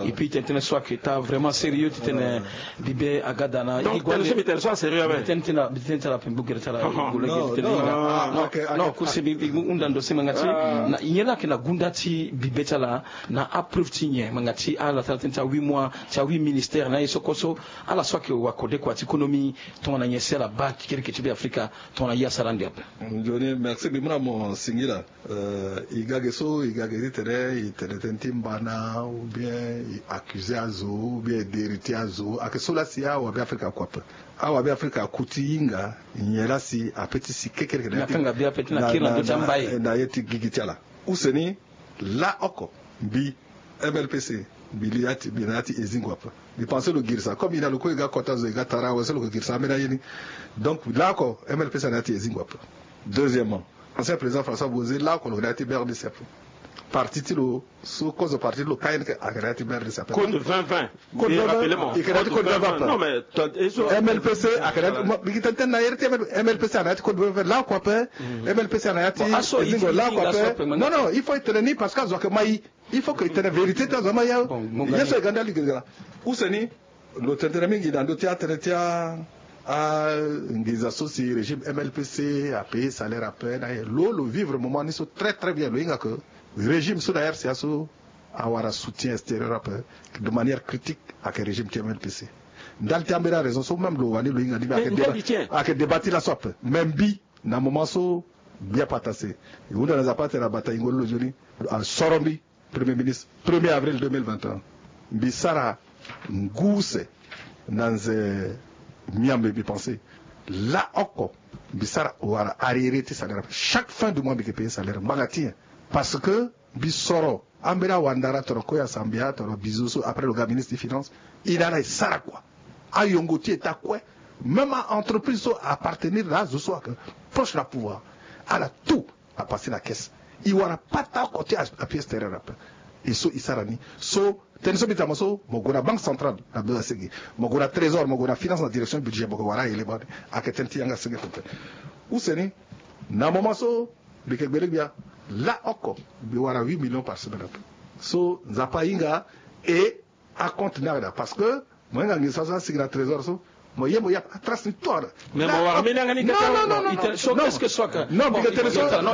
Et puis tene tënë so ayeke taa vraiment sérieux titene bibe aga daa na e gi guande. Tënë so mbi tene so asérieux ape. Mbi tene ti ala mbi tene ti ala ape gbu gere ti ala e gbu lege titene e hinga. Non kursi mbi mbi hunda ndo si ngbanga ti na nyen la ayeke na gunda ti bibe ti ala na apreuve ti nyen ngbanga ti ala ti ala tënë ti ahuit mois ti ahuit ministère na aye so koso. Ala so ayeke wa kode kua ti économie tongana nyen si ala baa kekereke ti be afrika tongana ye asara ande ape. Nzoni merci mbi mu na mo singila. Eh, e ga ge so e ga ge ti tene e tene tënë ti mbana ou bien e accusé azo ou bien e deri ti azo ayeke so laa si awabe afrika aku ape. Awabe afrika aku ti hinga nyen laa si ape ti si kekereke na ya ti kanga be ape ti na kiri na ndo ti ambai na ye ti gigi ti ala. Use ni laa oko mbi mlpc mbi li ya ti mbi na ya ti ezingo ape. Mbi pense lo girisa comme e na lo kue e ga kota zo e ga tara awe so lo ko girisa ambeni aye ni. Donc laa oko mlpc na ya ti ezingo ape. Deuxièmement ancien président François Bozé laa oko lo na ya ti brdc ape. Parti ti lo so kozo parti ti lo kayene ke ayeke na ya ti brdc ape. Code vingt vingt. Code vingt vingt. Ayeke na ya ti code vingt vingt ape. Non mais mlpc ayeke na ya ti mlpc ayeke na ya ti code vingt vingt laa oko ape. Mlpc ayeke na ya ti ezingo laa oko ape. Non non il faut e tene ni parce que azo ayeke ma e. Il faut que e tene vérité ti azo ama ya. Ye so e ga nda lingere gara use ni. Lo tene tënë mingi na ndö ti atënë ti anginza so si régime mlpc apaye salaire ape na ye lo lo vivre moment ni so très très bien lo hinga ke régime so na rca so awara soutien extérieur ape de manière critique. Ayeke régime ti mlpc ndali ti ambeni araison so même lo wani lo hinga ni me ayeke débat ti laso ape me mbi na moment so mbi apatase. E hunda na nzapa atene abata yingo lo lo nzoni asoro mbi premier ministre premier avril deux mille vingt et un. Mbi sara ngu use na nze miambe mbi pense laa oko mbi sara wala arriéré ti salaire chaque fin du mois mbi yeke paye salaire ngbanga ti nyen? Parce que mbi soro ambeni awandara tongana koya sambia tongana bizo so après lo ga ministre ti finance. E na ala e sara kua ayongo ti eta kue même a entreprise so appartenir na azo so ayeke proche na pouvoir ala tout. apasé na caisse. E wara pata oko ti a pièce terrain na pe. E so e sara ni so. Tënë so mbi tama so mo gue na banque centrale na bezo asigi, mo gue na trésor, mo gue na finance na direction budget, mo gue wara aélément ni. Ayeke tënë ti yanga senge tene tene. Use ni na moment so mbi yeke gbele gbia laa oko mbi wara huit millions par semaine ape. So Nzapa ahinga e acompte ni ayeke daa parce que mo hinga nginza so asigi na trésor so. Mo ye mo ya atrace ni tout. Mais mo wara mbeni yanga ni kete. Non, non, non, non, non. Qu'est-ce que so aka? Non, mbi yeke tene so. Non, non,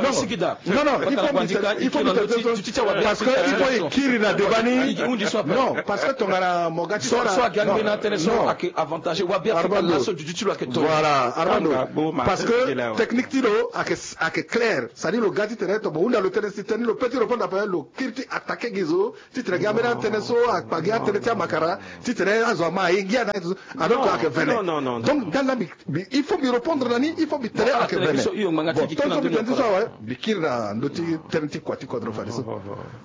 il faut mbi tene so parce que il faut e kiri na débat ni. Non, parce que tongana mo ga ti so aka. So aka mbeni atene so ake avantage wa bia fika laso dudu ti lo ake to. Voilà, Armando. Parce que technique ti lo ake clair. C'est-à-dire lo ga ti tene to mo hunda lo tene si tene lo pe ti répondre après lo kiri ti attaquer gi zo. Ti tene gi ambeni atënë so akpa gi atënë ti amakara. Ti tene azo ama aye gi ana. Alors que ayeke vene. Donc ndali laa mbi il faut mbi répondre na ni, il faut mbi tene ayeke vene. Bon, tongaso mbi tene ti so awe mbi kiri na ndö ti tënë ti kua ti kodro fadeso.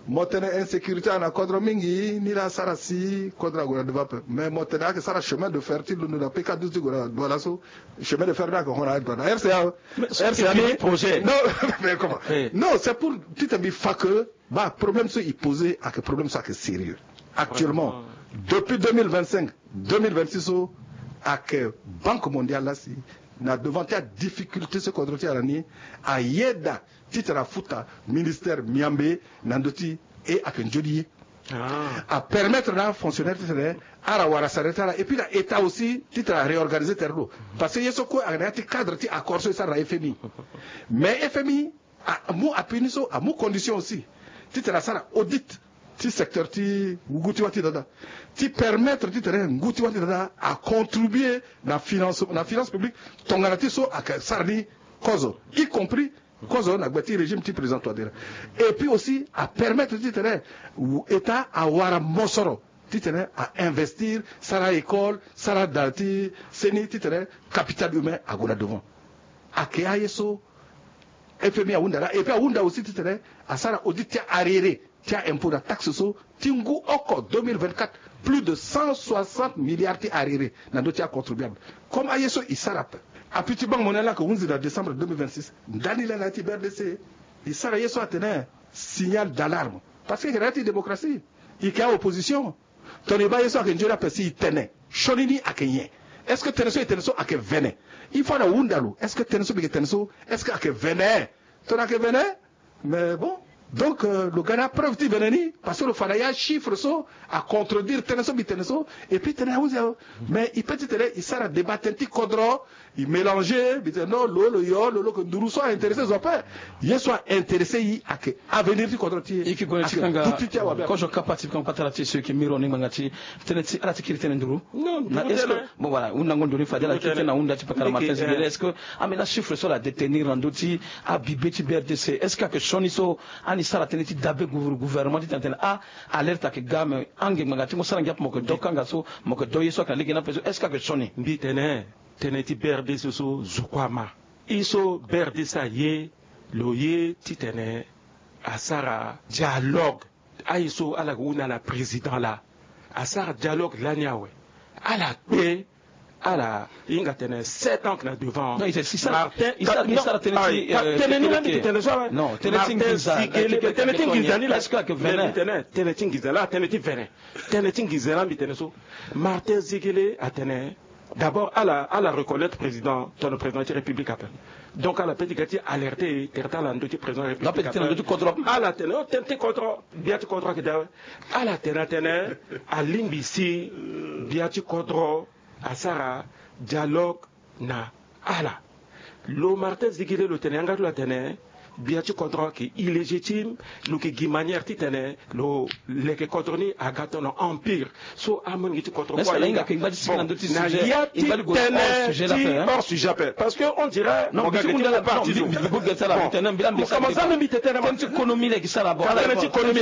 Mo tene insécurité ana kodro mingi ni laa asara si kodro ague na devant ape. Mais mo tene ayeke sara chemin de fer ti londo na pk douze ti gue na Douala so. Chemin de fer ni ayeke hon na Douala, rca. Rca ni projet. Non, mais comment? Non, c'est pour ti tene mbi fa que ba problème so e posé ayeke problème so ayeke sérieux. Actuellement depuis deux mille vingt-cinq, deux mille vingt-six so ayeke Banque Mondiale laa si na devant ti adifficulté so kodro ti ala ni ayeda ti tene afuta ministère miambe na ndö ti e ayeke nzoni ye. Apermettre na afonctionnaire ti tene ala wara sara ti ala et puis na état aussi ti tene aréorganiser tere lo. Parce que ye so kue ayeke na ya ti cadre ti accord so e sara na fmi. Mais fmi amu apui ni so amu condition aussi ti tene asara audit ti secteur ti ngu ti wâ ti dada ti permettre ti tene ngu ti wâ ti dada acontribuer na finance, na finance publique. Tongana ti so ayeke sara ni kozo y compris kozo na gbe ti régime ti président Touadéra. Et puis aussi apermettre ti tene état awara mosoro ti tene ainvestir, sara école, sara da ti seni ti tene capital humain ague na devant. Ayeke aye so fmi ahunda laa. Et puis ahunda aussi ti tene asara audit ti arriéré ti aimpôt na taxe so ti ngu oko deux mille vingt-quatre, plus de cent soixante milliards ti arriéré na ndö ti acontribuable. Comme aye so e sara ape. Appui ti Banque Mondiale laa ayeke hunzi na décembre deux mille vingt-six. Ndani laa na ya ti brdc e sara ye so atene signal d'alarme. Parce que e yeke na ya ti démocratie, e yeke aopposition. Tongana e baa ye so ayeke nzoni ape si e tene sioni ni ayeke nyen? Est-ce que tënë so e tene so ayeke vene? Il faut ala hunda lo, est-ce que tënë so mbi yeke tene so, est-ce que ayeke vene? Tongana ayeke vene, mais bon. Donc lo ga na apreuve ti vene ni parce que lo fa na ya chiffre so acontredire tënë so mbi tene so. Et puis tënë ahunzi awe. Mais e pe ti tene e sara débat tënë ti kodro. E mélanger mbi tene non lo lo yo lo lo yeke nduru so aintéressé zo ape. Ye so aintéressé e ayeke avenir ti kodro ti e. E yeke gue na ti kanga. Kozo kapa ti kanga patara ti e so e yeke miro ni ngbanga ti tënë ti ala ti kiri tënë nduru. Non, na nduru est-ce que tënë. Bon voilà hundango nduru ni fade ala kiri tënë na hunda ti pakara Martin Zingele. Est-ce que ambeni achiffre so ala détenir na ndö ti abibe ti brdc, est-ce que ayeke sioni so ani sara tënë ti dabe gouvernement ti tene tene ah alerte ayeke ga mais ange ngbanga ti mo sara ngia ape mo yeke do kanga so mo yeke do ye so ayeke na lege ni ape so est-ce que ayeke sioni? Mbi tene tënë ti brdc so zo kue ama. I so brdc aye lo ye ti tene asara dialogue. Aye so ala yeke hunda na président laa asara dialogue lani awe. Ala kpe ala hinga tene sept ans na devant. Martin tene ni laa mbi tene so awe. Martin Zingele tene ti nginza ni laa. Tene tene tene ti nginza laa tene ti vene. Tënë ti nginza laa mbi tene so Martin Zingele atene d'abord ala ala reconnaître président tongana président ti république ape. Donc ala pe ti ga ti alerter tere ti ala na ndö ti président république ape. Ala tene o tënë ti kodro gbia ti kodro ayeke daa awe. Ala tene atene alingbi si gbia ti kodro asara dialogue na ala. Lo Martin Zingele lo tene yanga ti lo atene gbia ti kodro ayeke illégitime. Lo yeke gi manière titene lo leke kodro ni aga tono empire. So amonge ti kodro kue ahinga na ya ti tënë ti hors sujet ape parce que on dirait mo ga gete mo parti zo. Mo komanse ame mbi tene ma tënë ti économie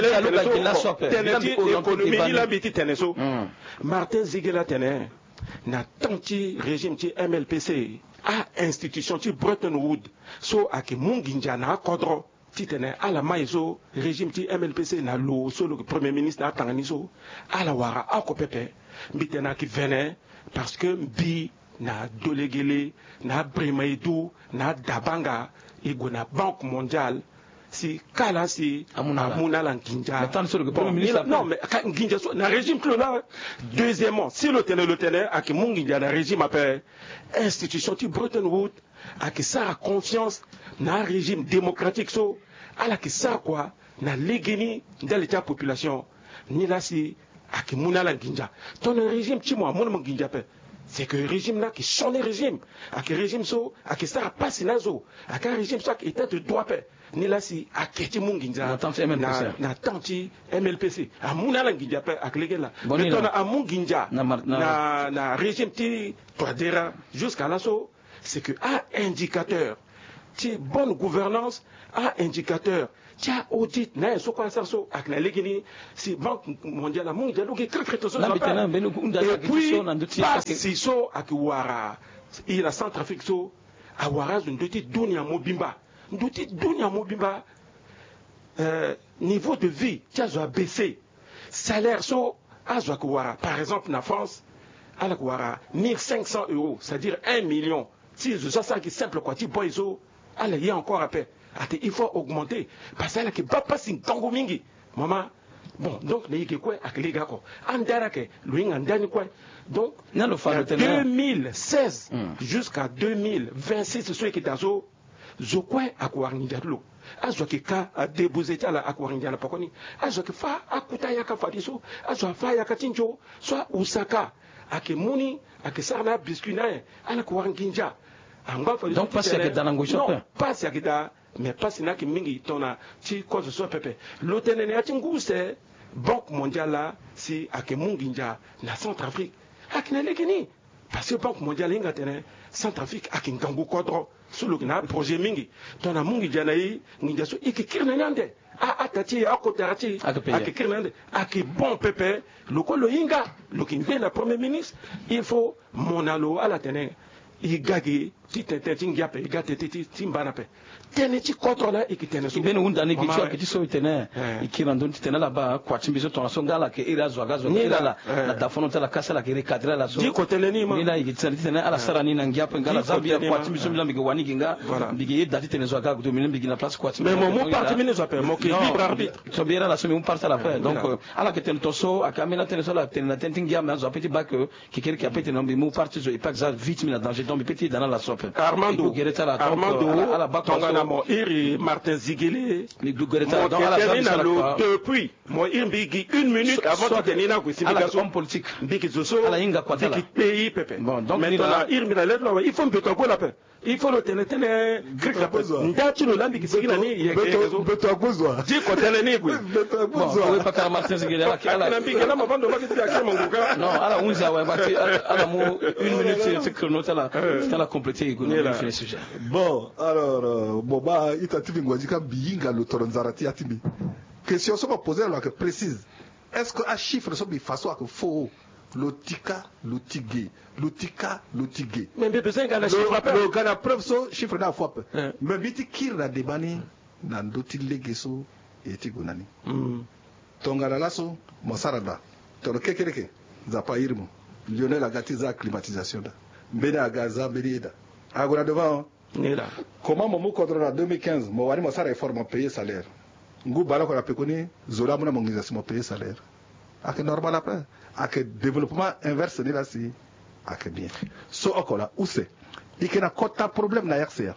laa mbi ti tene so. Tënë ti économie ni laa mbi ti tene so. Martin Zingele atene na temps ti régime ti M L P C, a-institution ti Bretton Woods so ayeke mu nginza na akodro titene ala ma e so régime ti M L P C na lo so lo yeke premier ministre na atanga ni so ala wara oko pepe. Mbi tene ayeke vene parce que mbi na Dolegele na Brima Edu na Dabanga e gue na Banque Mondiale si kala si amu na ala nginza. Non, mais nginza so na régime ti lo laa. Deuxièmement, si lo tene lo tene ayeke mu nginza na régime ape, institution ti Bretton Woods ayeke sara confiance na arégime démocratique so. Ala yeke sara kua na legeni ndali ti apopulation. Nilaa si ayeke mu na ala nginza. Tongana régime ti mo amu na mo nginza ape, c'est que régime ni ayeke sioni régime. Ayeke régime so ayeke sara pasi na azo. Ayeke arégime so ayeke état de droit ape. Nilaa si ayeke ti mu nginza na temps ti M L P C. Amu na ala nginza ape ayeke lege laa. Mais tongana amu nginza na régime ti Touadéra jusqu'à laso, c'est que a-indicateur ti bonne gouvernance, a-indicateur ti a-audit na ayen so kue asara so ayeke na legeni. Si Banque Mondiale amu nginza lo gi krekre to so. Et puis pasi so ayeke wara e na Centrafrique so, awara azo ndö ti dunia mobimba. Ndö ti dunia mobimba. Niveau de vie ti azo abaisse. Salaire so azo ayeke wara, par exemple na France, ala yeke wara mille cinq cents euros, c'est-à-dire un million. Ti zo so asara gi simple kua ti boy so, ala ye encore ape. Ate il faut augmenter, parce que ala yeke baa pasi ngangu mingi. Mama. Bon, donc na e ge kue ayeke lege oko. Andara ayeke lo hinga ndani kue. Donc na deux mille seize jusqu'à deux mille vingt-six so e yeke daa so, zo kue ayeke wara nginza ti lo. Azo ayeke ka adébouze ti ala ayeke wara nginza na pekoni. Azo ayeke fâ akota yaka fadeso. Azo afâ yaka ti nzo so ahusaka. Ayeke mu ni, ayeke sara na abiscuit na ayen. Ala yeke wara nginza. Angba fadeso. Donc pasi ayeke daa na ngoi so ape. Pasi ayeke daa. Mais pasi ni ayeke mingi tongana ti kozo so pepe. Lo tene na ya ti ngu use Banque Mondiale laa si ayeke mu nginza na Centrafrique. Ayeke na legeni. Parce que Banque Mondiale ahinga atene Centrafrique ayeke ngangu kodro. So lo yeke na aprojet mingi. Tongana amu nginza na e, nginza so e yeke kiri na ni ande. A, ataa ti e, akotara ti e ayeke kiri na ni ande. Ayeke bon pepe. Lo kue lo hinga, lo yeke nde na premier ministre. Il faut mo na lo ala tene e ga ge ti tene tënë ti ngia ape, e ga tënë ti mba ni ape. Tënë ti kodro laa e yeke tene so. Mbeni hunda ni gi ti ayeke ti so e tene e kiri na ndö ni ti tene ala baa kua ti mbi so tongaso nga ala yeke iri azo aga azo aga iri ala na dafono ti ala kasi ala yeke recadrer ala so. Diko tënë ni ma. Ni laa e yeke ti tene ti tene ala sara ni na ngia ape nga ala za mbi ya kua ti mbi so mbi laa mbi yeke wani gi nga. Mbi yeke yeda ti tene zo aga agudo mbi laa mbi gi na place kua ti mbi. Mais mo mu parti mbi ni zo ape, mo yeke libre arbitre. So mbi iri ala so mbi mu parti ala ape. Donc ala yeke tene tongaso ayeke ambeni atënë so ala tene na tënë ti ngia, mais azo ape ti baa ke Kekereke ape tene mbi mu parti zo e pas que za vie ti mbi na danger, donc mbi pe ti da na ala so ape. Armando, Armando, tongana mo iri Martin Zigele, mo tene na lo depuis, mo iri mbi gi une minute avant ti tene ni na gue si mbi ga so. Mbi gi zo so, mbi gi pays pepe. Mais tongana iri mbi na lettre awe, il faut mbeto ague na ape. Il faut lo tene tënë. Nda ti lo laa mbi yeke sigi na ni yeke zo. Beto ague zo. Diko tënë ni gue. Beto ague zo. Ala mbi yeke na mavando ma kiti ake mango ka. Non, ala hunzi awe ba ti ala mu une minute ti chrono ti ala ti ala compléter e gue na mbi fini sujet. Bon, alors, bon, ba ita ti mbi ngua ti ka mbi hinga lo toro nzara ti ya ti mbi. Question so mo poser na lo ayeke précise. Est-ce que achiffre so mbi fa so ayeke faux? Lo tika, lo ti ge, lo tika, lo ti ge. Mais mbi besoin nga na chiffre ape. Lo ga na preuve so chiffre ni afaux ape. Mais mbi ti kiri na débat ni na ndö ti lege so e ti gue na ni. Tongana laso mo sara daa tongana kekereke, Nzapa airi mo. Lionel aga ti za climatisation daa. Mbeni aga aza mbeni ye daa. Ague na devant. Comment mo mu kodro na deux mille quinze, mo wani mo sara effort mo payer salaire? Ngu baleoko na pekoni zo laa amu na mo nginza si mo payer salaire. Ayeke normal ape. Ayeke développement inverse ni laa si ayeke bien. So oko laa use e yeke na kota problème na R C A.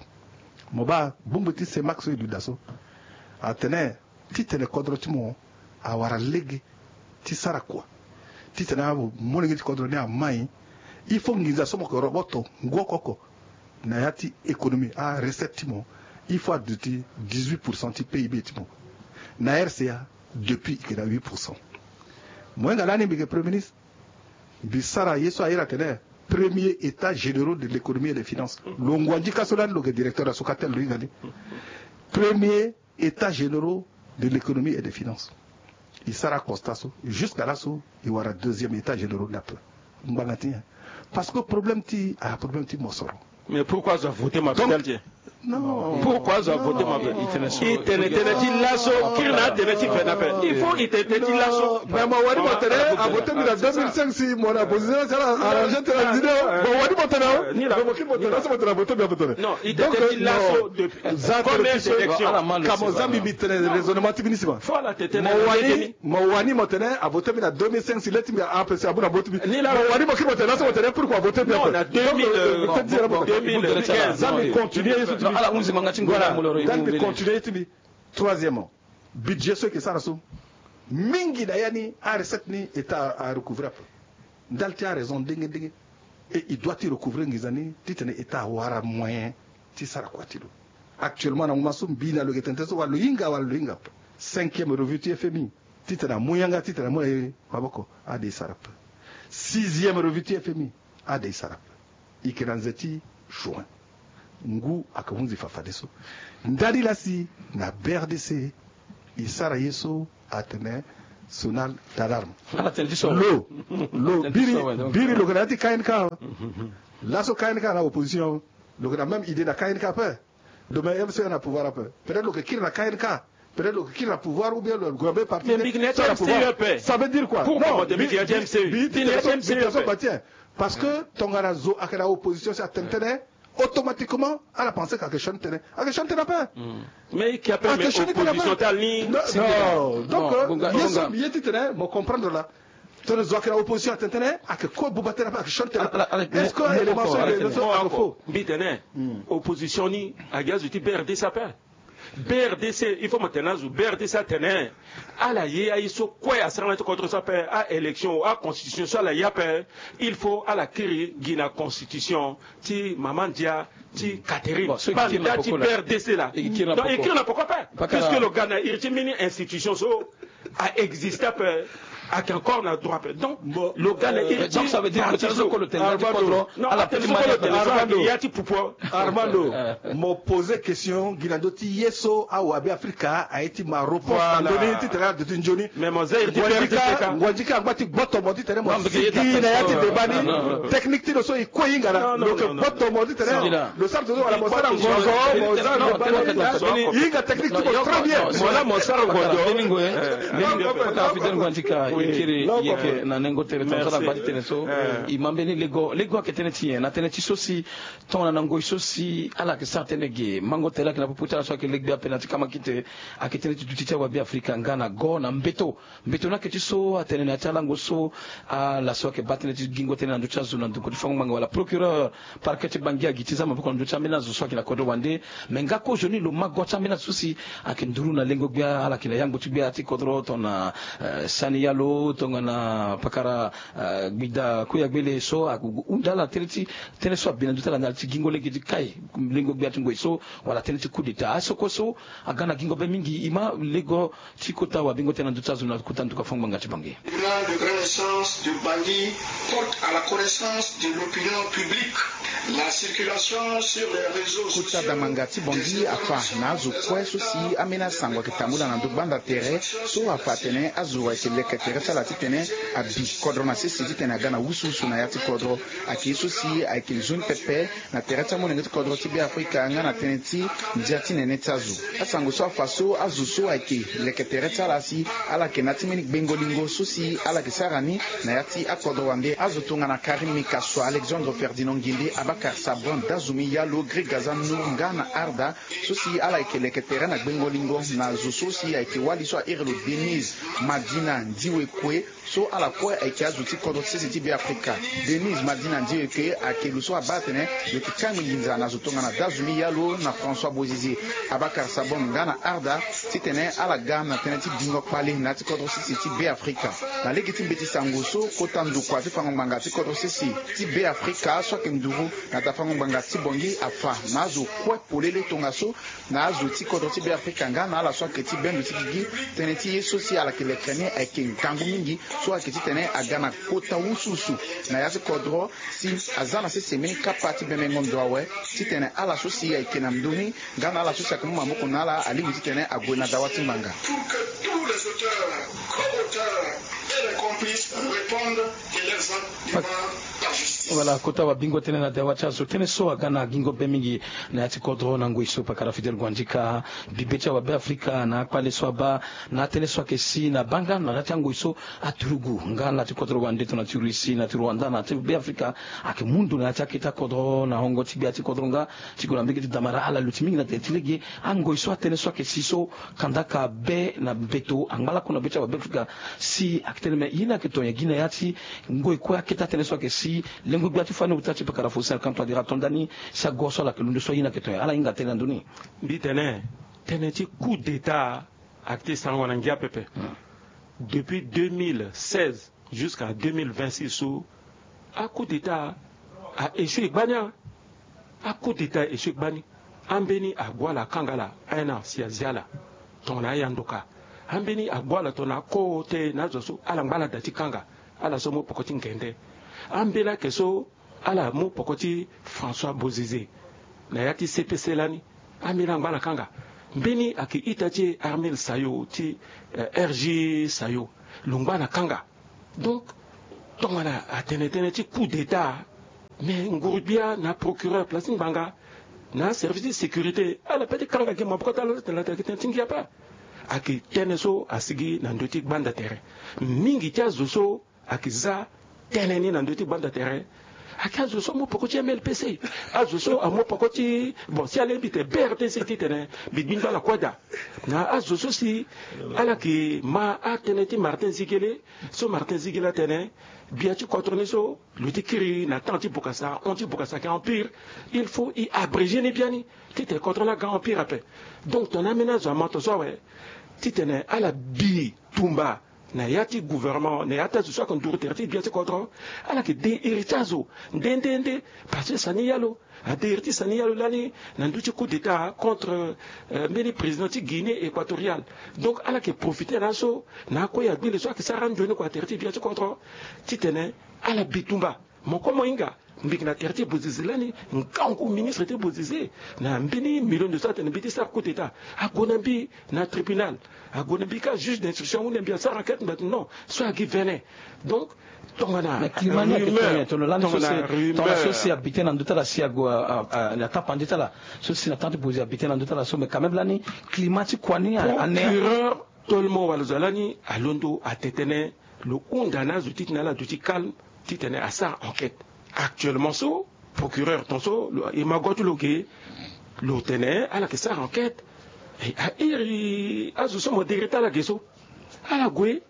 Mo baa bongbi ti Cemac so e duti daa so atene titene kodro ti mo awara lege ti sara kua. Titene amolenge ti kodro ni amai, il faut nginza so mo yeke roboto ngu oko oko na ya ti économie, arecette ti mo, il faut aduti dix-huit pour cent ti P I B ti mo. Na R C A depuis e yeke na huit pour cent. Mo hinga lani mbi yeke premier ministre, mbi sara ye so a iri atene premier état généraux de l'économie et des finances. Lo ngua nzika so lani lo yeke directeur na Socatel, lo hinga ni. Premier état généraux de l'économie et des finances. E sara constat so jusqu'à laso e wara deuxième état généraux ni ape. Ngbanga ti nyen? Parce que problème ti a problème ti mosoro. Mais pourquoi azo avote mabe? Donc, tel ti e. Non. Pourquoi azo avote mabe? E tene tënë ti laso kiri na atënë ti ve na ape. Il faut e tene tënë ti laso. Mais mo wani mo tene avote mbi na deux mille cinq si mo na opposition ti ala arranger tënë ti ni. Mo wani mo Tene, mo kiri mo tene, laso mo tene avote mbi ape tene. Non, il était dit laso de première élection. Ka mo zambi mbi tene raisonnement ti mbi ni si ma. Mo wani, mo wani mo tene avote mbi na deux mille cinq si le ti mbi a empêcher abu na avote mbi. Mo wani mo kiri mo tene, laso mo tene pourquoi avote mbi ape. Donc, euh, deux mille quinze. Za mbi continuer ye so ti mbi. Voilà. Za mbi continuer ye ti mbi. Troisièmement, budget so e yeke sara so, mingi na ya ni arecette ni État a recouvrer ape. Ndali ti araison ndenge ndenge. Et il doit ti recouvrer nginza ni titene État awara moyen ti sara kua ti lo. Actuellement na moment so mbi na lo yeke tene tënë so wala lo hinga wala lo hinga ape. Cinquième revue ti F M I titene amu yanga titene amu na e maboko, ade e sara ape. Sixième revue ti F M I, ade e sara ape. E yeke na nze ti juin. Ngu ayeke hunzi fafadeso. Ndali laa si na B R D C e sara ye so atene sonal d'alarme. Lo, lo biri, biri lo yeke na ya ti K N K. Laso K N K na opposition. Lo yeke na même idée na K N K ape. Lo même M C E na pouvoir ape. Peut-être lo yeke kiri na K N K. Peut-être lo yeke kiri na pouvoir ou bien lo yeke gue na mbeni parti. Mais mbi yeke na ya ti M C E ape. Ça veut dire quoi? Pourquoi? Non, mbi yeke na ya ti M C E. Mbi yeke na ya ti M C E ape. Parce que tongana zo ayeke na opposition si atene tënë, automatiquement ala pense que ayeke sioni tënë. Ayeke sioni tënë ape. Mais e yeke ape, mais opposition ti ala ni. Non, donc, euh, ye so mbi ye titene mo comprendre laa. Tongana zo ayeke na opposition atene tënë, ayeke kue buba tënë ape, ayeke sioni tënë ape. Est-ce que élément so ayeke faux? Mbi tene opposition ni ayeke azo ti B R D C ape. B R D C, il faut mo tene na azo, B R D C atene ala ye aye so kue asara na ya ti kodro so ape, a-élection, a-constitution so ala ye ape, il faut ala kiri gi na constitution ti mama ndia ti Catherine. Bon, so e kiri na poko la. Ti B R D C la. E kiri na poko ape. Puisque lo ga na iri ti mbeni institution so a existe ape, ayeke encore na droit ape. Donc lo ga na iri ti parti so. Donc ça veut dire que tënë so kue lo tene na ya ti kodro, ala peki ma ya ti pouvoir. Armando, mo poser question gi na ndö ti ye so awabe Afrika aye ti ma réponse na ndö ni titene ala duti nzoni. Mais mo za iri ti B R D C ka. Ngua ndika angba ti gboto mo titene mo sigi na ya ti débat ni. Technique ti lo so e kue e hinga na lo yeke gboto mo titene lo sara zo wala mo sara ngonzo, mo za débat ni. E hinga technique ti mo très bien. Mo la mo sara ngonzo. Mbeni ngoi, mbeni ngoi, Fidèle Ngua Ndika, e kiri, e yeke na nengo tere tongaso ala baa ti tene so. E ma mbeni lego, lego ayeke tënë ti nyen? Na tënë ti so si tongana na ngoi so si ala yeke sara tënë ge, mango tere ayeke na popo ti ala so ayeke legbe ape na ti kamakite, ayeke tënë ti duti ti awabe Afrika nga na go na mbeto. Mbeto ni ayeke ti so atene na ya ti alango so ala so ayeke baa tënë ti gingo tënë na ndö ti azo na ndokua ti fango ngbanga wala procureur parquet ti Bangui agi ti za maboko na ndö ti ambeni azo so ayeke na kodro wande. Me nga kozoni lo ma go ti ambeni azo so si ayeke nduru na lengo gbia, ala yeke na yango ti gbia ti kodro tongana, eh, Sani Yalo, tongana pakara, eh, Gbida Kuyagbele so ague hunda ala na tënë ti tënë so abi na ndö ti ala na ala ti gingo lege ti kai lengo gbia ti ngoi so wala tënë ti coup d'État. Aso kue so aga na gingo be mingi, e ma lego ti kota wabengo tënë na ndö ti azo na kota nduka fango ngbanga ti Bangui. Le tribunal de grande instance de Bangui porte à la connaissance de l'opinion publique la circulation sur les réseaux sociaux. Kota damanga ti Bangui afa na azo kue so si ambeni asango ayeke tambula na ndö gbanda tere so afa atene azo ayeke leke tere ti ala titene abi kodro na sese titene aga na wusuwusu na ya ti kodro. Ayeke ye so si ayeke nzoni pepe na tere ti amolenge ti kodro ti Beafrika nga na tënë ti ndia ti nene ti azo. Asango so afa so azo so ayeke leke tere ti ala si ala yeke na ya ti mbeni gbengo lingo so si ala yeke sara ni na ya ti akodro wande. Azo tongana Karim Mikaso, Alexandre Ferdinand Ngende, Abakar Sabon, Dazumi Yalo, Greg Gazan Nour nga na Arda so si ala yeke leke tere na gbengo lingo na zo so si ayeke wali so a iri lo Denise Madina Ndiwekwe. So ala kue ayeke azo ti kodro ti sese ti Beafrika. Denise Madina Ndiwekwe ayeke lo so abaa atene lo yeke kangbi nginza na zo tongana Dazumi Yalo na François Bozize, Abakar Sabon nga na Arda titene ala ga na tënë ti bingo kpale na ya ti kodro ti sese ti Beafrika. Na lege ti mbeti sango so kota ndokua ti fango ngbanga ti kodro ti sese ti Beafrika so ayeke nduru na daa fango ngbanga ti Bangui afa na azo kue polele tongaso na azo ti kodro ti Beafrika nga na ala so ayeke ti bendo ti gigi. Tënë ti ye so si ala yeke leke ni ayeke ngangu mingi so ayeke titene aga na kota wusuwusu na ya ti kodro si aza na sese mbeni kapa ti bemengo ndo awe titene ala so si ayeke na ndö ni nga na ala so si ayeke mu maboko na ala alingbi titene ague na dawa ti ngbanga. Pour que tous les auteurs, co-auteurs et les complices répondent de leurs actes devant la justice. Wala kota wabingo tënë na dawa ti azo. Tënë so aga na gingo be mingi na ya ti kodro na ngoi so pakara Fidèle Guandika. Bibe ti awabe Afrika na akpale so abaa na atënë so ayeke si na baa nga na ya ti angoi so aturugu nga na ya ti kodro wande tongana ti Russie na ti Rwanda na ya ti be Afrika ayeke mu ndo na ya ti akete kodro na hongo ti gbia ti kodro nga ti gue na mbege ti damara ala luti mingi na tere ti lege. Angoi so atënë so ayeke si so kandaka be na beto angba lakue na be ti awabe Afrika si ayeke tene me ye ni ayeke to nyen gi na ya ti ngoi kue akete atënë so ayeke si lengo gbia ti fani ota ti pakara Faustin Archange Touadéra ato ndani si ago so ala yeke londo so aye ni ayeke to nyen ala hinga tënë na ndö ni. Mbi tene tënë ti coup d'état ayeke ti sarango na ngia pepe. Depuis deux mille seize jusqu'à deux mille vingt-six so a coup d'état a échoué gbani. A coup d'état a échoué gbani. Ambeni ague ala akanga ala un an si azia ala tongana aya ndoka. Ambeni ague ala tongana ako te na azo so ala ngba ala da ti kanga ala so mu poko ti ngende. Ambeni ayeke so ala mu poko ti François Bozizé na ya ti C P C lani. Ambeni angba ala kanga. Mbeni ayeke ita ti Armel Sayo ti eh, R G Sayo lo ngba na kanga. Donc tongana atene tënë ti coup d'état, mais nguru-gbia na procureur place ti ngbanga na service ti sécurité ala pe ti kanga gi maboko ti ala so tene la tene ayeke tënë ti ngia ape. Ayeke tënë so asigi na ndö ti gbanda tere. Mingi ti azo so ayeke za tënë ni na ndö ti gbanda tere. Ayeke azo so amu poko ti M L P C, azo so amu poko ti bon si alingbi tene B R T C titene mbi gbingba ala kue daa. Na azo so si ala yeke ma atënë ti Martin Zigele. So Martin Zigele atene gbia ti kodro ni so lo ti kiri na temps ti Bokassa, hon ti Bokassa ayeke empire. Il faut e abréger ni biani titene kodro ni aga empire ape. Donc tongana ambeni azo ama tongaso awe titene ala bi tumba na ya ti gouvernement na ya ti azo so ayeke nduru tere ti gbia ti kodro. Ala yeke de iri ti azo nde nde nde. Parce que sani ya lo ade iri ti sani ya lo lani na ndö ti coup d'état contre eh, mbeni président ti Guinée équatoriale. Donc ala yeke profiter na aso na akue ya gbele so ayeke sara anzoni kua tere ti gbia ti kodro titene ala bi tumba. Mo kue mo hinga mbi yeke na tere ti Bozizé lani. Ngangu ministre ti Bozizé na mbeni million de so atene mbi ti sara coup d'état ague na mbi na tribunal. Ague na mbi ka juge d'instruction ahunda mbi asara enquête mbi atene non so agi vene. Donc tongana mais climat ni ayeke to nyen? Tono lani so si tongana so si abite na ndö ti ala si ague a- a- a- na tapande ti ala so si na temps ti Bozizé abite na ndö ti ala so mais quand même lani climat ti kua ni ane. Procureur Tolmo wala zo lani alondo ate tënë lo hunda na azo titene ala duti calme titene asara enquête. Actuellement so procureur tongaso lo e ma go ti lo ge lo tene ala yeke sara enquête. E, a iri azo so mo dere ti ala ge so ala gue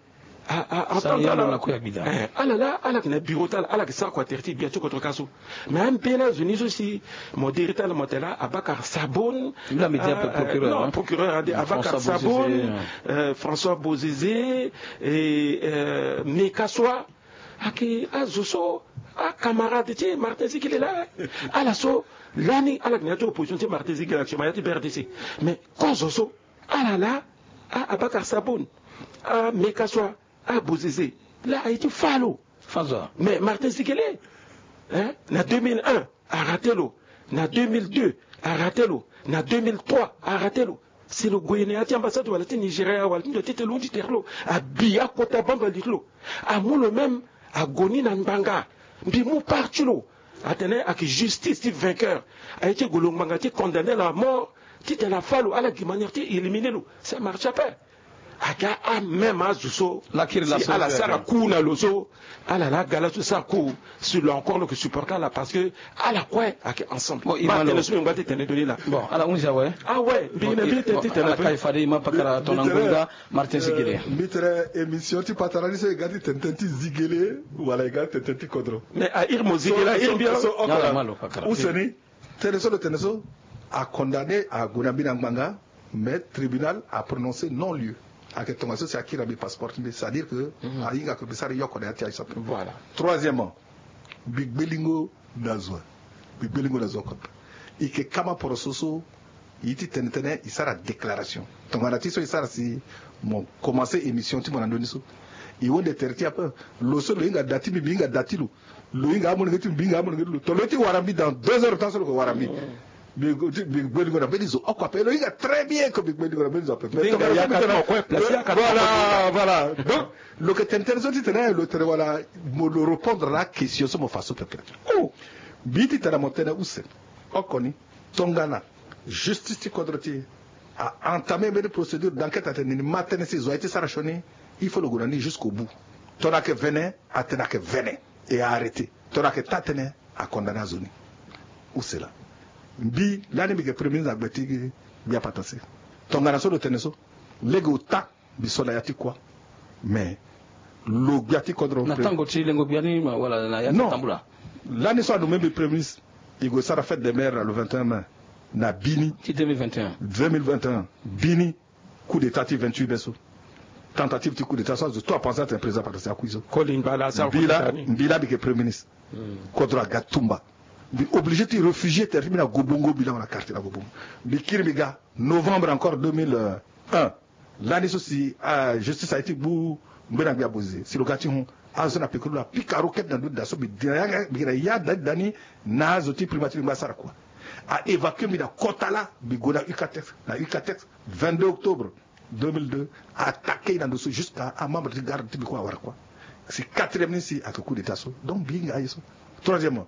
a- a- entendre ala. Eh, ala la ala yeke na bureau ti ala ala yeke sara kua tere ti gbia ti kodro ka so. Mais ambeni azo ni so si mo diri ti ala mo tene la Abakar Sabon. Lui la mbi di ape procureur, non, hein, procureur ade Abakar Sabon, euh, François Bozizé et euh, Mekaswa. Ayeke azo so acamarade ti Martin Zigele laa. Ala so lani ala yeke na ya ti opposition ti Martin Zigele actuellement ya ti B R D C. Mais kozo so ala laa, a Abakar Sabon, a Mekaswa, a Bozizé laa aye ti fâ lo. Fâ zo. Mais Martin Zigele, hein, na deux mille un arate lo, na deux mille deux arate lo, na deux mille trois arate lo. Si lo gue na ya ti ambassade wala ti Nigeria wala ti ndo ti tene lo hundi tere lo abi akota bamba li ti lo. Amu lo même ague ni na ngbanga. Mbi mu part ti lo atene ayeke justice ti vainqueur. Aye ti gue lo ngbanga ti condamner lo à mort titene afâ lo ala gi manière ti éliminer lo. Ça marche pas. Aga amême azo so lakiri la si so ala sara ku na lo so. Ala la aga laso sara ku si lo encore lo yeke supporter ala parce que ala kue ayeke ensemble. Bon, ima lo tene so mbi ngba ti tene doni la. Bon, ala hunzi awe. Awe mbi na mbi tene ti tene ala kai fade ima pakara tongana ngonga. Martin Zigele. Mbi tene émission ti patara ni so e ga ti tene tene ti Zigele wala e ga ti tene tene ti kodro. Mais a iri mo Zigele a iri mbi ala. Use ni. Tënë so lo tene so, a condamné ague na mbi na ngbanga. Mais tribunal a prononcé non lieu. Ayeke tongaso si akiri na mbi passeport ti mbi, c'est à dire que ahinga ke mbi sara yoko na ya ti aye so ape. Voilà. Troisièmement, mbi gbelingo na zo. Mbi gbelingo na zo oko. E yeke kama poroso so e ti tene tënë e sara déclaration tongana ti so e sara si mo commencé émission ti mo na ndoni so. E honde tere ti e ape. Lo so lo hinga da ti mbi mbi hinga da ti lo. Lo hinga amolenge ti mbi mbi hinga amolenge ti lo. Tongana lo ye ti wara mbi dans deux heures de temps so lo yeke wara mbi. Mbi gbelingo na mbeni zo oko ape. Lo hinga très bien que mbi gbelingo na mbeni zo ape. Voilà, voilà. Donc lo yeke tene tënë so ti tene lo tene wala mo lo répondre na akestion so mo fa so pepe. Oh. Mbi ti tene mo tene use oko ni. Tongana justice ti kodro ti e a entamé mbeni procédure d'enquête atene nini ma tënë si zo aye ti sara sioni. Il faut lo gue na ni jusqu'au bout. Tongana ayeke vene atene ayeke vene et a arrêté. Tongana ayeke taa tënë a condamné azo ni. Use laa. Mbi lani mbi yeke premier ministre na gbe ti gbia patase. Tongana so lo tene so lege ota mbi so na ya ti kua. Mais lo gbia ti kodro na tango ti lengo gbia ni wala na ya ti tambula. Lani so anommé mbi premier ministre, e gue sara fête des mères na le vingt et un mai na bini ti deux mille vingt et un. Deux mille vingt et un bini. Coup d'état ti vingt-huit mai so. Tentative ti coup d'état so azo tout apenser atene président patase akui so. Mbi laa mbi yeke premier ministre. Kodro aga tumba. Mbi obligé ti réfugier tere ti mbi na Gobongo, mbi laa na quartier na Gobongo. Mbi kiri mbi ga novembre encore deux mille un. Lani so si justice aye ti gbu ngbene ngbia boze si lo ga ti hon azo so na pekuru lo apika ro kete na ndö ti da so mbi gi na ya da ti da ni. Na azo ti primature mbi ngba asara kua. A évacuer mbi na kota laa mbi gue na Ucatex. Na Ucatex vingt-deux octobre deux mille deux. Attaquer na ndo so jusqu'à amembre ti garde ti mbi kue awara kua. Si quatrième ni si ayeke coup d'état so donc mbi hinga aye so. Troisièmement